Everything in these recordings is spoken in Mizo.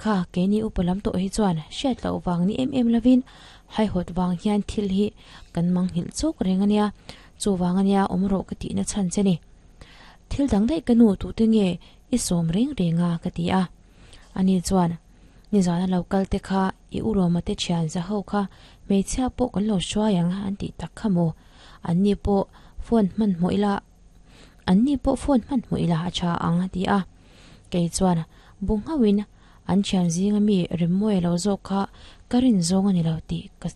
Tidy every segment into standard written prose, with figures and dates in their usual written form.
Kha keini upa lam tawh hi chuan hriat loh vang ni em em lovin haihawt vang hian thil hi kan manghilh chawk reng a nia, chuvang a nia awm rawh ka tihna chhan che ni. Thil dang daih ka nu tute nge i sawm reng reng a ka ti a. Ani chuan nizana lo kal te kha i u Roma te thian za ho kha hmeichhia pawh kan lo hruai ang an tih tak kha maw? An ni pawh phone hmanhmawh ila an ni pawh phone hmanhmawh ila a tha ang a ti a. Kei chuan bu nghauhin an thian zinga mi Remmawi lo zawk kha ka rin zawng a ni lo tih ka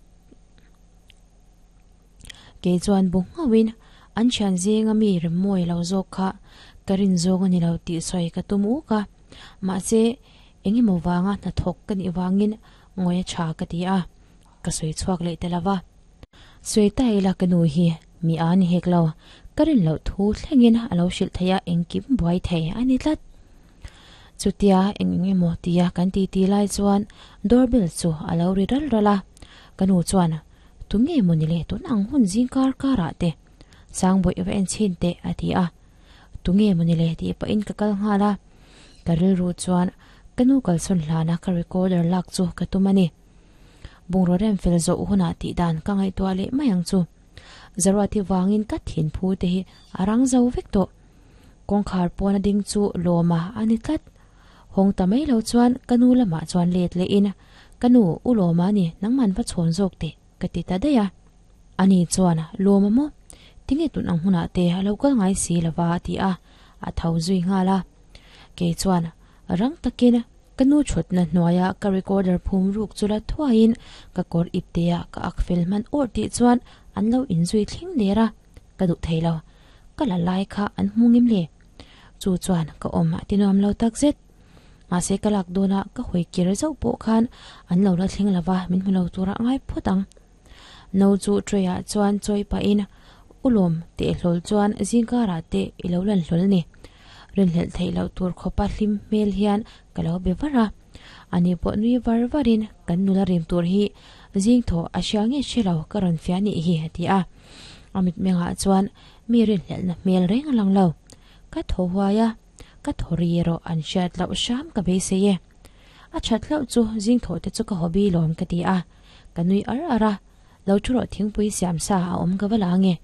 Kei chuan bu nghauhin an thian zinga mi Remmawi lo zawk kha ka rin zawng a ni lo tih sawi ka tum uk a. Mahse eng emaw vanga hnathawk ka nih vangin ngawi a tha ka ti a, ka sawi chhuak leh ta lo va. Sawi ta ila ka nu hi mi a ni hek lo, ka rin loh thu thlengin a lo hrilh thei a engkim buai thei a ni tlat. Chutia eng eng emaw tia kan titi lai chuan doorbell chu a lo ri ral ral a, ka nu chuan Tunge maw ni le tun ang hun zing kar karah te Sangbawih va en chhin teh a ti a, Tunge maw ni le tih pahin ka kal nghal a, ka rilru chuan ka nu kalsawn hlana ka recorder lak chu ka tum a ni. Bungraw rem fel zawh hunah tih dan ka ngaihtuah leh mai ang chu. Zaruati vangin ka thin phu te hi a rang zo vek tawh. Kawngkhar pawn a ding chu lawma a ni tlat. Hawng ta mai lo chuan ka nu lamah chuan let leh in, Ka nu, u lawma ni, nangman va chhawn zawk teh, ka ti ta daih a. Ani chuan, Lawma maw? Tinge tun ang hunah te a lo kal ngai si lova a ti a, a tho zui nghal a. Kei chuan, Rang takin ka nu thutna hnuaia ka recorder phum ruk chu la thuaiin ka kawr iptea ka ak fel hman awrh tih chuan an lo inzui thleng der a, ka duh thei lo. Ka la lai kha an hmu ngim le. Chu chuan ka awm a ti nuam lo tak zet. Mahse ka lak dawna ka hawi kir zauh pawh khan an lo la thleng lova min hmu lo tura ngai phawt ang. No chu tray ah chuan chawi pahin ulawm teh hlawl chuan zingkarah te i lo lan hlawl ni. Rinhlelh theih loh tur khawpa hlim hmel hian ka lo be var a. Ani pawh nui var varin kan nula rim tur hi zing thaw a hria nge hre lo ka rawn fiah nih hi a ti a. A mitmengah chuan mi rinhlelhna hmel reng a lang lo. Ka thaw huai a, ka thaw ri erawh an hriat loh hram ka beisei e. A that hlauh chu zing thaw te chu ka hobby lawm ka ti a. Ka nui ar ar a, lo thu rawh thingpui siam sa a awm ka va la ange.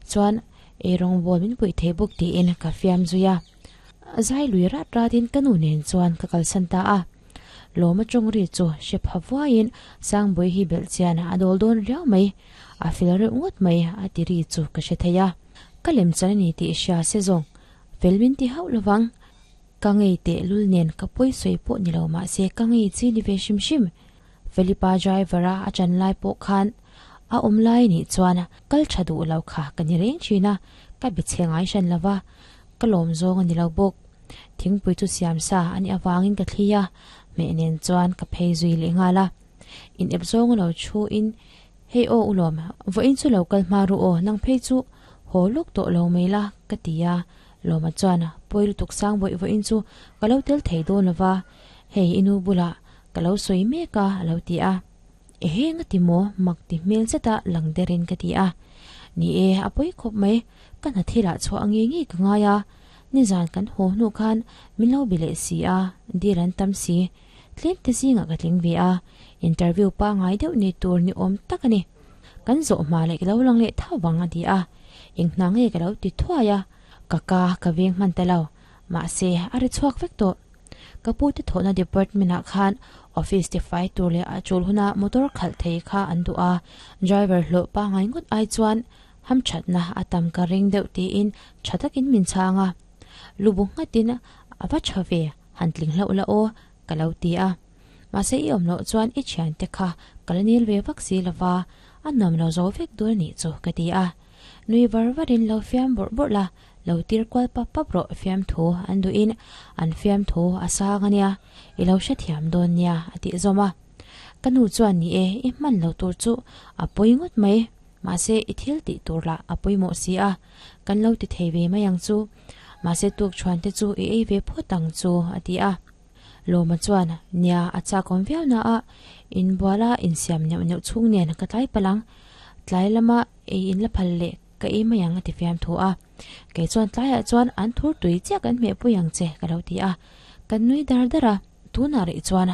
Chuan ei rawngbawl min puih thei bawk tiin ka fiam zui a. Zai lui rat ratin ka nu nen chuan ka kalsan ta a. Lawma tawng ri chu hre pha vuaiin Sangbawi hi belh chian a dawl dawn riau mai, a fel reuh ngawt mai a ti ri chu ka hre thei a. Ka lem chan a ni tih hria se zawng fel min ti hauh lovang. Ka ngei teh lul nen ka pawi sawi pawh ni lo mahse ka ngei chi ni ve hrim hrim. Felipa driver a a chan lai pawh khan a awm lai nih chuan kal tha duh lo kha ka ni reng thin a, ka be chhe ngai hran lo va, ka lawm zawng a ni lo bawk. Thingpui chu siam sa a nih avangin ka thli a, hmeh nen chuan ka phei zui leh nghal a. In ep zawng a lo thu in, Hei aw u lawm, vawiin chu lo kal hma ru aw, nang phei chu haw lawk tawh lo mai la ka ti a. Lawma chuan, Pawi lutuk sang vawi vawiin chu ka lo tel thei dawn lo va, hei i nu bulah Ka lo sawi mek a, a lo ti a. Ehe nga ti maw? Mak ti hmel zeta lang derin ka ti a. Ni e, a pawi khawp mai, ka hna thilah chhuah ngei ngei ka ngai a. Nizan kan haw hnu khan min lo be leh si a, dil an tam si. Tlem te zingah ka tling ve a, interview pangngai deuh ni tur ni awm tak a ni. Kan zawh hma leh ka lo lang leh tho vang a ti a. Eng hna nge ka lo ti thuai a, ka ka ka veng hman ta lo. Mahse, a ri chhuak vek tawh. Ka pu te thawhna department ah khan office te fai tur leh a tul huna motor khalh thei kha an duh a, driver hlawh pangngai ngawt ai chuan hamthatna a tam ka ring deuh tiin tha takin min chhang a. Lu bu nghatin a va tha ve, han tling hlauh la aw ka lo ti a. Mahse i awm loh chuan i thiante kha ka la nil ve vak si lova, a nuam lo zo vek dul nih chu ka ti a. Nui var varin lo fiam bawrh bawrh la, Lo tir kual pap pap rawh fiamthu an duhin an fiamthu a sang a nia, i lo hrethiam dawn nia a tih zawm a. Ka nu chuan ni e, i hman lo tur chu a pawi ngawt mai, mahse i thil tih tur lah a pawimawh si a, kan lo ti thei ve mai ang chu, mahse tukṭhuan te chu i ei ve phawt ang chu a ti a. Lawma chuan nia a chakawm viau na a, inbuala insiam neuh neuh chhung nen ka tlai palh ang, tlai lama ei in la phal leh Ka ei mai ang a ti fiam thu a. Kei chuan tlaiah chuan an thur tui chiah kan hmeh pui ang che ka lo ti a. Kan nui dar dar a. Tunah rih chuan.